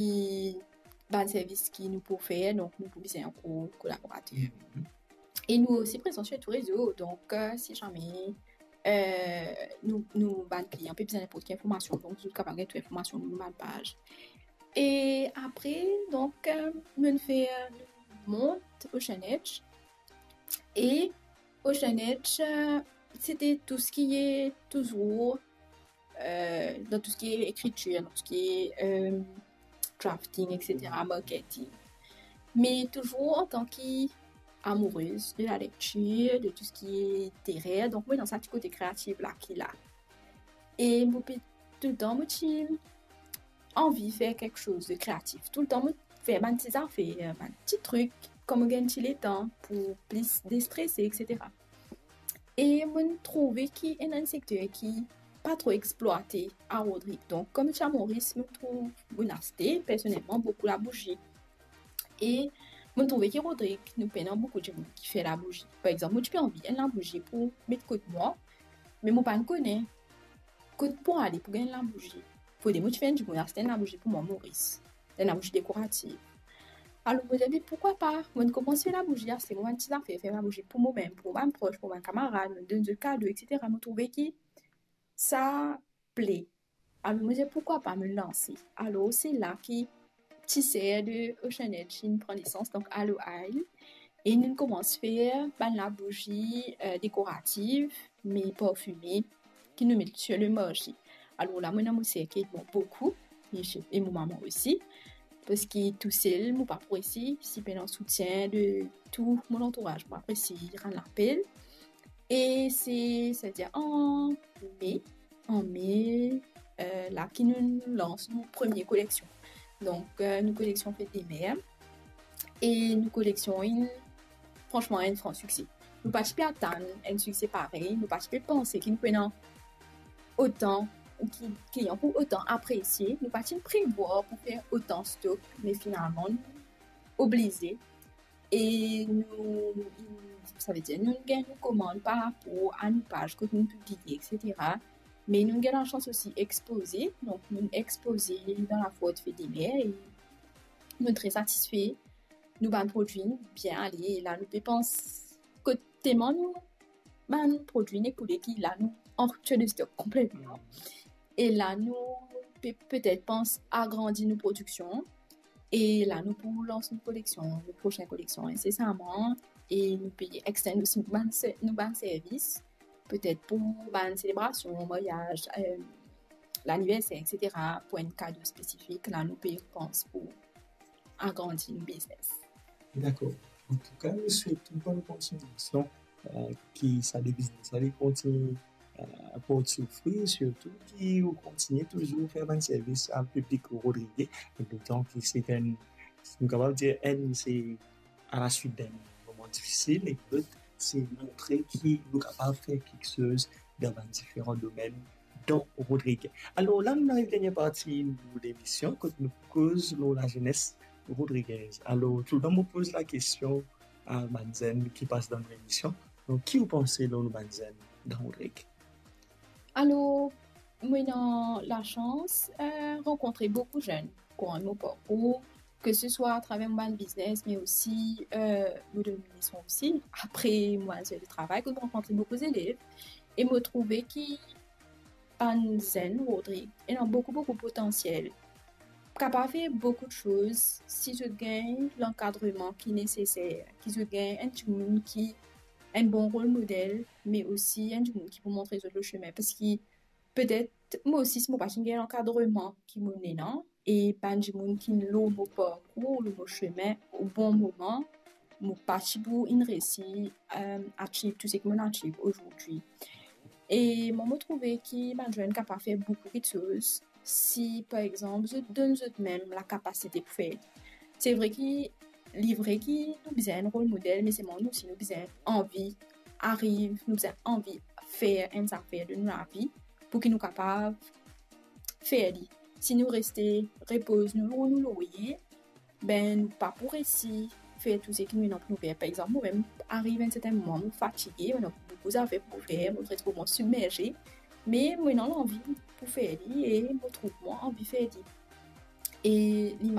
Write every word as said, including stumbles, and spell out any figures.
ki bann servis ki nou pou fer, donk nou pou bizin ankor kolaborater. Mhm. E nou osi prezan sur tou rezo, donk, euh, si zame, euh, nou, nou bann klian pe bizin ninport ki informasion, donk zot kapav gagn tou informasion lor nou bann paz. E apre, donk, euh, nou fer, nou mont Ocean Edge. E Ocean Edge, euh, se te tou seki touzour, euh, dan tou seki ekritir, dan tou seki, euh, drafting, et cetera, marketing. Me touzour antan ki amourez de lalektir, de tou seki literer, donk mwa dan sa ti kote kreatif la ki la. E mo pe toultan mo ti anvi fer kiksoz de kreatif. Toultan mo fer bann ti zafer, bann ti trik, kan mo gagn ti letan pou plis destrese, et cetera. E mo trouve ki ena enn sekter ki pa tro explwate a Rodrig. Donk, kouma ti amourez, mo trouv, mo aste, personelman, boukou labouzi. E mo trouve ki Rodrig, nou pena boukou dimoun ki fer labouzi. Par exanp, mo ti pe anvi enn labouzi pou met kot mwa, me mo pa kone kot pou ale pou gagn labouzi. Fode mo ti fer enn dimoun aste enn labouzi pou mwa, Moris. Enn labouzi dekoratif. Alor, mo dir, me poukwa pa, mo koumans fer labouzi, aste mo bann ti zafer, fer labouzi pou momem, pou bann pros, pou bann kamarad, mo donn zot kado, et cetera. Mo trouve ki sa ple. Alor, mo dir, poukwa pa mo lanse? Alor, se la ki ti ser de Ocean Edge inn pran nesans, donk Aloe Isle. E nou koumans fer bann labouzi, euh, dekoratif, me parfime, ki nou met sur le marse. Alor la, mo ena mo ser ki ed mwa boukou, e se, e mo mama osi, parski tousel, mo pa pou resi, si pena soutien de tou mo lantouraz, mo pa pou resi rann lapel. E se, setadir an me, an me, euh, la ki nou lans nou premie koleksion. Donk, euh, nou koleksion Fête des Mères. E nou koleksion inn, fransman, enn fran sikse. Nou pa ti pe atann enn sikse parey, nou pa ti pe panse ki nou pou ena otan, ki klian pou otan apresie. Nou pa ti prevwar pou fer otan stok, me finalman, nou oblize. E nou, savedir, nou gagn nou komann par rapor a nou paz kot nou pibliye, et cetera. Me nou gagn lasans osi expoze, donk nou expoze dan la foire Fête des Mères, e nou tre satisfe, nou bann prodwi bien ale, e la nou pe pans kot telman nou bann prodwi inn ekoule ki la nou an rupture de stock konpletman. E la nou pe, petet pans agrandi nou prodiksion. E la nou pou lans nou koleksion, nou prosin koleksion insesaman. E nou pe extend osi nou bann se-, nou bann servis, petet pou bann selebrasion, maryaz, euh, laniverser, et cetera, pou enn kado spesifik, la nou pe pans pou agrandi nou biznes. Dakor. Antouka, nou swet ou bonn kontignasion, euh, ki sa de biznes la, li kontigne, euh, port so fri, sirtou ki ou kontigne touzour fer bann servis a piblik rodrigez, dotan ki se enn, nou kapav dir enn, se a la swit d'enn moman difisil, e lot, se montre ki nou kapav fer kiksoz dan bann diferan domenn dan Rodrig. Alor la, nou ariv dernie parti nou lemision, kot nou koz lor lazenes rodrigez. Alor, toultan mo poz lakestion a bann zenn ki pas dan nou lemision, donk, ki ou panse lor nou bann zenn dan Rodrig? Alor, mo ena lasans, euh, rankontre boukou zenn kourant mo parkour, ke se swa atraver mo bann biznes, me osi, euh, mo donn leson osi. Apre mo al zot travay, kot mo rankontre boukou zelev, e mo trouve ki bann zenn Rodrig ena boukou, boukou potansiel. Kapav fer boukou de soz si zot gagn lankadreman ki neseser, ki zot gagn enn dimoun ki enn bon rol model, me osi enn dimoun ki pou montre zot le sime. Parski petet mo osi, si mo pa ti gagn lankadreman ki mo ena, e bann dimoun ki lor mo parkour, lor mo sime, o bon moman, mo pa ti pou inn resi, euh, achieve tou seki mo achieve azordi. E mwa, mo trouve ki bann zenn kapav fer boukou kiksoz si, par exanp, zot donn zotmem lakapasite pou fer. Se vre ki, li vre ki nou bizin enn rol model, me selman nou osi nou bizin anvi ariv, nou bizin anvi fer enn zafer de nou lavi pou ki nou kapav fer li. Si nou reste repoz nou lor nou lorye, be, nou pa pou resi fer tou seki nou ena pou nou fer. Par exanp, momem, ariv enn sertin moman, mo fatige, mo ena boukou zafer pou fer, mo retrouv mwa sibmerze, me mo ena lanvi pou fer li e mo trouv mwa anvi fer li. E li